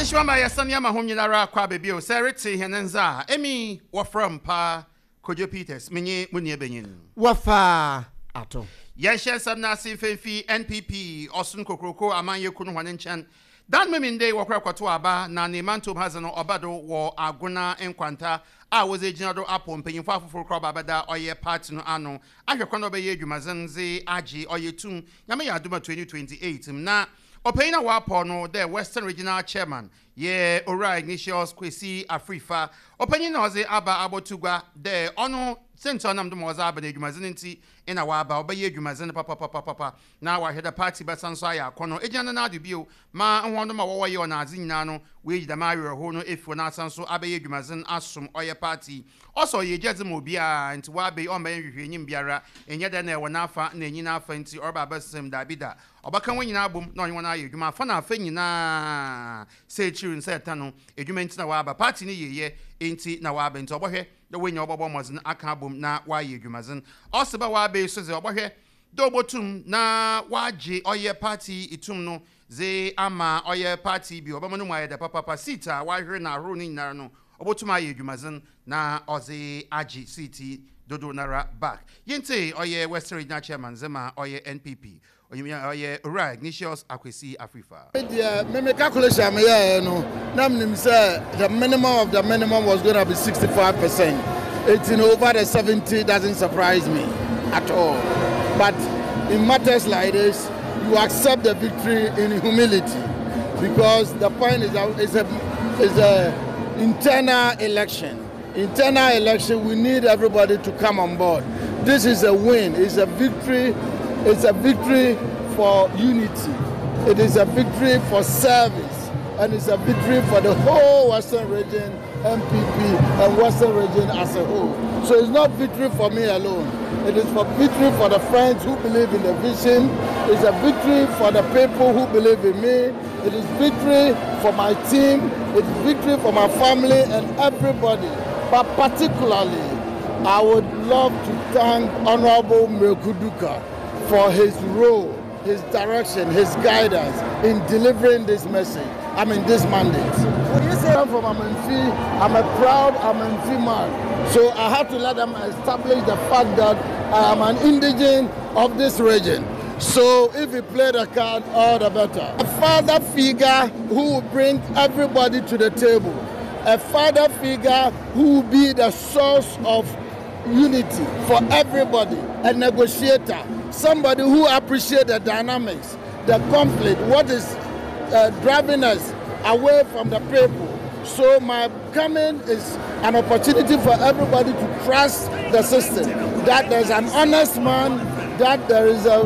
Adehyema ma yɛsane ama hom nyinara akɔ aba bio. Sɛ eretse hɛn ndze a, emi wɔfrɛ me paa Kojo Peters, menye mo nuabanyin. Wɔfa ato. Yɛnhyɛ nsɛm no ase mfa mfi NPP Ɔson Kokroko Amanyɛkuw no hɔn nkyɛn. Dan Memende wɔkɔr kɔtow aba na ne mantɔw mu ha dze no ɔba do wɔ Agona Nkwanta a wɔdze egyina do apow mpanyimfo afofor koraa ɔba abɛda ɔyɛ party no ano ahwɛ kwan dɛ ɔbɛyɛ edwumadzen dze agye ɔyɛ tum Nyame yɛ adom a 2028 mu na Ɔpanyin a wɔapaw no dɛ Western Regional Chairman yɛ Owura Ignatius Kwesi Afrifa. Ɔpanyin na ɔdze aba abɔto gua dɛ ɔno siantsir a ɔnam do ma ɔdze aba no edwumadzen ntsi na ɔaba. Ɔbɛyɛ edwumadzen papapapapa na ɔahwɛ dɛ party bɛsan so ayɛ akɔnɔ egyina ne nan do bio ma hɔnnom a wɔwɔ yaw na adze nyina no woeyi dɛm awerɛhow no efi hɔ na asan so abɛyɛ edwumadzen asom ɔyɛ party. Ɔsɛ ɔyɛ egyadze ma obiara ntsi ɔaba yi ɔmmbɛyɛ nhwehwɛenyim biara nnyɛ dɛ nna ɛwɔ n'afa na enyi n'afa ntsi ɔreba abɛsesa mu daabida. Ɔbɛka hɔn nyina abɔ mu na ɔnye hɔn ayɛ edwuma afa na afa nyina, sɛ ekyir no sɛ ɛtã no, edwuma ntsi na ɔaba, party no yieyɛ ntsi na ɔaba ntsi ɔbɔhwɛ dɛ woenya ɔbɔbɔ mbɔdzen akã abɔ mu na ɔayɛ edwumadzen. Ɔse ba ɔaba yi so dze ɔbɔhwɛ dɛ obotum na ɔagye ɔyɛ party tum no dze ama ɔyɛ party bi, ɔbɛma no mu ayɛ dɛ papaapa, seat a ɔahwer no ahorow no nyinara no obotum ayɛ edwumadzen na ɔdze agye seat yi dodow noara back. Yentsie ɔyɛ Western Regional Chairman dze ma ɔyɛ NPP, Onyimnya ɔyɛ Owura Ignatius Akwesi Afrifa. Me deɛ, me me calculation a meyɛeɛ no, na menim sɛ the minimum of the minimum was gonna be 65%. Enti no over the 70 doesn't surprise me at all. But in matters like this, you accept the victory in humility because the point is that it's a internal election. Internal election, we need everybody to come on board. This is a win. It's a victory. It's a victory for unity. It is a victory for service. And it's a victory for the whole Western region, NPP, and Western region as a whole. So it's not victory for me alone. It is for victory for the friends who believe in the vision. It's a victory for the people who believe in me. It is victory for my team. It is victory for my family and everybody. But particularly, I would love to thank Honorable Mireku Duker for his role, his direction, his guidance in delivering this message, I mean this mandate. When you say I'm from Amenfi, I'm a proud Amenfi man. So I have to let them establish the fact that I am an indigene of this region. So if he play the card, all the better. A father figure who will bring everybody to the table. A father figure who will be the source of unity for everybody, a negotiator, somebody who appreciates the dynamics, the conflict, what is driving us away from the people. So my coming is an opportunity for everybody to trust the system, that there's an honest man, that there is a